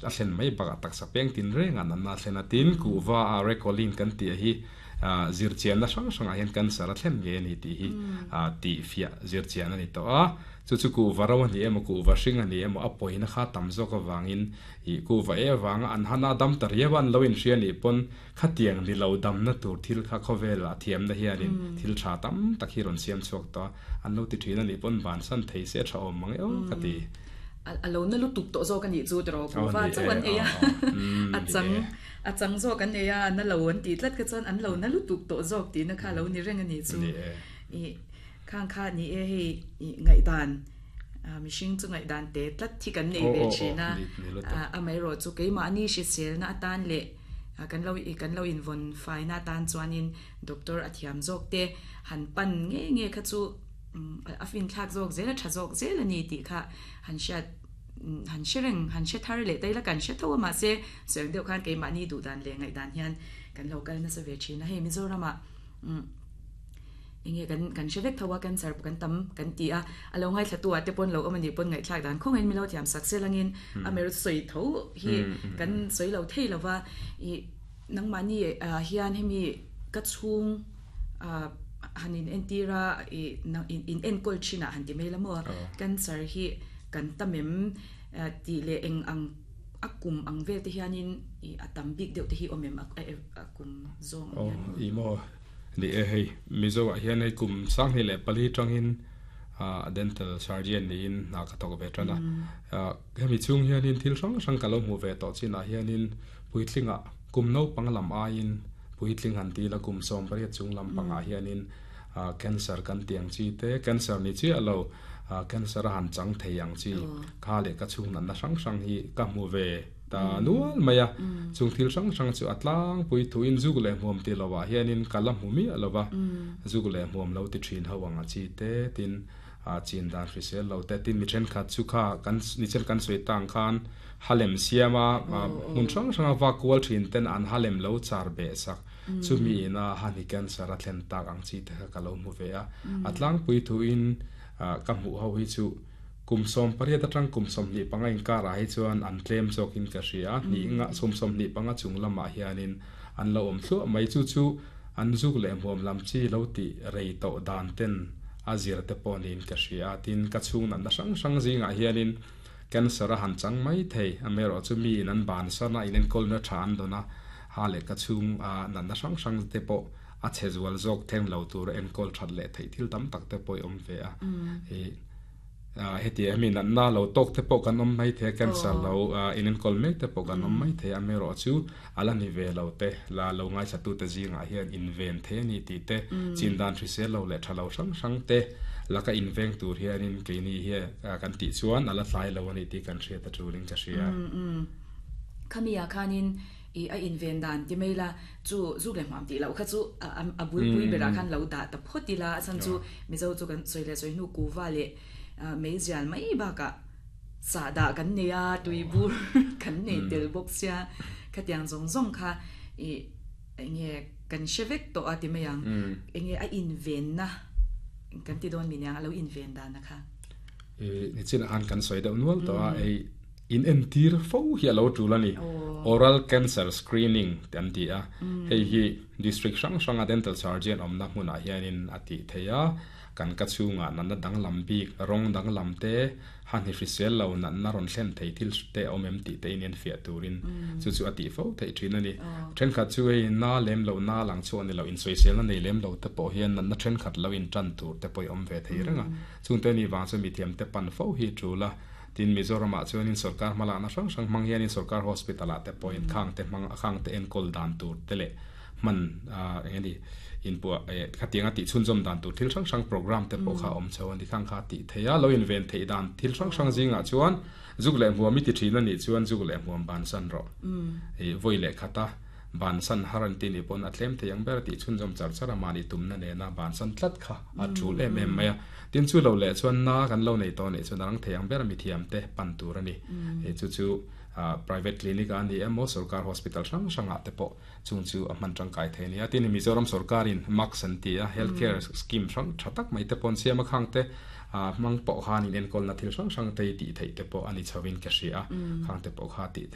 a thlen mai bakah taksa peng tin reng a natna a thlen a. Tin, kuhva a Recolin kan tih hi zirchianna hrang hrangah hian cancer a thlen ngei a ni tih hi tihfiah zirchian a ni tawh a. Chu chu kuhva ro a ni emaw kuhva hring a ni emaw a pawina kha tam zawk avangin ih kuhva e avanga an han a dam ta riau a an lo inhria nih pawn khatiang ni lo damna tur thil kha khawvel a thiamna hianin thil tha tam tak hi rawn siam chhuak tawh a, an lo ti thin a nih pawn bansan thei se tha awm mang eo ka ti. A lo na lutuk tawh zawk a nih chu tiraw kuhva chauh an ei a, a chang a chang zawk an ei a, a na lo an tih tlat kha chuan an lo na lutuk tawh zawk tihna kha a lo ni reng a nih chu. Ih khang kha ni e hei ih ngaihdan mihring chu ngaihdan te tlat hi kan nei ve thin a, amaherawh chu keimahni hriselna atan leh kan lo kan lo invawn faina atan chuanin doctor a thiam zawk te han pan nge nge kha chu a finthlak zawk zel a tha zawk zel a ni tih kha han hriat han hre reng han hre thar leh ta ila kan hre tho a mahse sawi ang deuh khan keimahni duhdan leh ngaihdan hian kan lo kal nasa ve thin a hei Mizoramah enge kan kan hre vek tho a cancer pawh kan tam kan ti a a lo ngaithla tu ah te pawn lo awm a nih pawn ngaihthlak dan khawngin min lo thiam sak sel angin a mer sawi tho hi kan sawi lo thei lo va ih nangmahni ah hian hemi ka chhung ah han in entir a ih in enkawl thin ah han ti mai la maw cancer hi kan tam em tih leh eng ang a kum ang vel te hianin ih a tam bik deuh te hi awm em a kum zawng ang hian maw. Ih maw Ni e hei, Mizo ah hian hei kum 24 tangin dental surgeon niin hna ka thawk ve tan a. Hemi chhung hianin thil hrang hrang ka lo hmuh ve tawh chinah hianin puitlingah kum naupang lam aiin puitling han ti ila kum 18 chung lam pangah hianin cancer kan ti ang chi te, cancer ni chiah lo cancer a han chang thei ang chi kha leh ka chhung natna hrang hrang hi ka hmu ve. Ta nual mai a, chung thil hrang hrang chu a tlangpui thuin zuk leh hmuam ti lovah hianin ka la hmu miah lo va, zuk leh hmuam lo ti thin ho ang a chi te tin a chin dan hrisel lo te tin mi thenkhat chu kha kan nichen kan sawi tang khan halem siam a hmun hrang hrang a vak kual thin ten an halem lo char beh sak chumi ina hani cancer a thlen tak ang chi te kha ka lo hmu ve a, a tlangpui thuin ka hmuh ho hi chu. Kum 18 atang kum 25 inkarah hi chuan an tlem zawkin ka hria a, hnih nga sum 25 chung lamah hianin an lo awm thluah mai. Chu chu an zuk leh hmuam lam chi lo tih rei tawh dan ten a zir te pawh niin ka hria a. Tin, ka chhung natna hrang hrang zingah hianin cancer a han chang mai thei. Amaherawh chu miin an bansan a, inenkawlna tha an dawn a, ha leh ka chhung natna hrang hrang te pawh a chhe zual zawk thleng lo tura enkawl that leh theih thil tam tak te pawh i awm ve a. Heti hemi natna lo tawk te pawh kan awm mai thei a, cancer lo inenkawl mek te pawh kan awm mai thei a, amaherawh chu a la ni ve lo te, la lo ngaithlatute zingah hian inven thei a ni tih te, chin dan hrisel lo leh tha lo hrang hrang te laka inveng tur hianin keini hi kan tih chuan a la tlai lo a ni tih kan hriat a tulin ka hria. Khamiah khanin I a inven dan ti mai la, chu zuk leh hmuam tih loh kha chu a bulpui berah khan lo dah ta phawt ila, a chhan chu Mizo chu kan sawi leh sawi hnu kuva leh meizial mai bakah sahdah kan nei a, tuibur kan nei tel bawk sia, khatiang zawng zawng kha i eng nge kan hre vek tawh a ti mai ang, eng nge a invenna kan ti dawn mi niang a lo inven dan a kha. I nichinah khan kan sawi deuh nual tawh a, hei. In entir fo hi a lo tul a ni. Oral Cancer Screening te an ti a, hei hi District hrang hranga Dental Surgeon awmna hmunah hianin a tih theih a, kan ka chhungah natna danglam bik, rawng danglam te, hahni hrisel lo natna rawn thlen thei thil te a awm em tih te in enfiah turin chu chu a tih fo theih thin a ni. Thenkhat chu hei na lem lo, na lang chhuah ni lo, insawiselna nei lem lo te pawh hian natna thenkhat lo intan tur te pawh i awm ve thei reng a, chungte nih vang chu mithiamte pan fo hi tul a. Tin, Mizoramah chuanin sorkar hmalakna hrang hrang hmang hianin sorkar hospital-ah te pawhin khangte hmang khangte enkawl dan tur te leh hman eng emaw inpuah khatianga tih chhunzawm dan tur thil hrang hrang program te pawh kha a awm chho a ni. Khang kha tih theih a, lo inven theih dan thil hrang hrang zingah chuan zuk leh hmuam i ti thin a nih chuan zuk leh hmuam bansan rawh. Ih vawi leh khata bansan har an tih nih pawn a tlem thei ang ber a tih chhunzawm char char a mahni tumna nena bansan tlat kha a tul em em mai a. Tin chu lo leh chuan na kan lo nei tawh nih chuan a rang thei ang ber a mithiam te pan tur a ni. Hei chu chu private clinic ah a ni emaw sorkar hospital hrang hrang ah te pawh chung chu a hman tangkai thei a ni a. Tin Mizoram sorkarin MACS an ti a, health care scheme hrang tha tak mai te pawh an siam a, khang te hmang pawh khan in enkawlna thil hrang hrang te hi tih theih te pawh a ni chho in ka hria a, khang te pawh kha tih theih.